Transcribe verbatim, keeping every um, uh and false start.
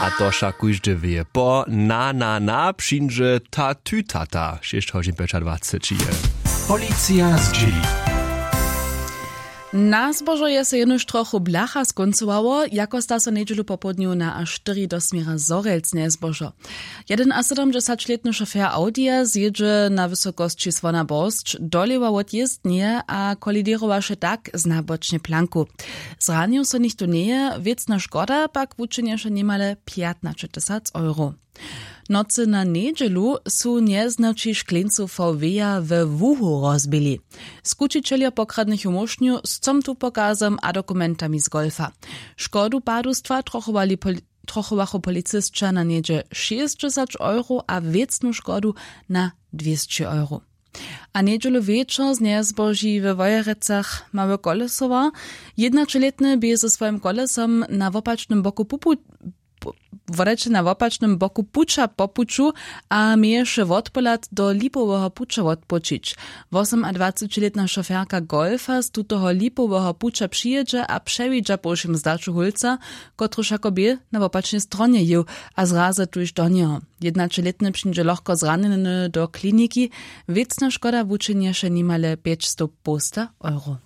A to wšak kóždy wě, po na na na přińdźe ta ty tata šěsć hodźin pjećadwaceći je. Policija zdźěli. Na zbožo je so jenož trochu blacha skóncowało, jako sta so njedźelu popołdnju na a štyri do směra Zhorjelc njezbožo. Jedynasydomdźesaćlětny šofjer Audija zjědźe na wysokosći Słona Borsć dolěwa wot jězdnje a koliděrowaše tak znabočnje planku. Zranił so nichtó njeje, wěcna škoda pak wučinješe nimale pjatnaćetysac euro. Nocy na njedźelu su njeznaći škleńcu V W-ja we Łuhu rozbili. Skućićeljo pokradnych ju móšnju z comtu pokazom a dokumentami z golfa. Škodu padustwa trochowali poli- trochowachu policysća na něhdźe šěsćdźesać euro a wěcnu škodu na dwěsći euro. A njedźelu wječor znjezboži we Wojerecach mały kolesowa. Jednaćelětny bě ze swojim kolesom na wopačnym boku pupu wodajće na wopačnym boku puća po puću a měješe wotpohlad do lipoweho puća wotpočić. Wosomadwacećilětna šoferka golfa z tutoho lipoweho puća přijědźe a přewidźa po wšěm zdaću hólca, kotryž jako bě na wopačnej stronje jěł a zrazy tuž do njeho. Jednaćelětny přińdźe lochko zranjeny do kliniki. Wěcna škoda wučinješe nimale pjećstow połsta euro.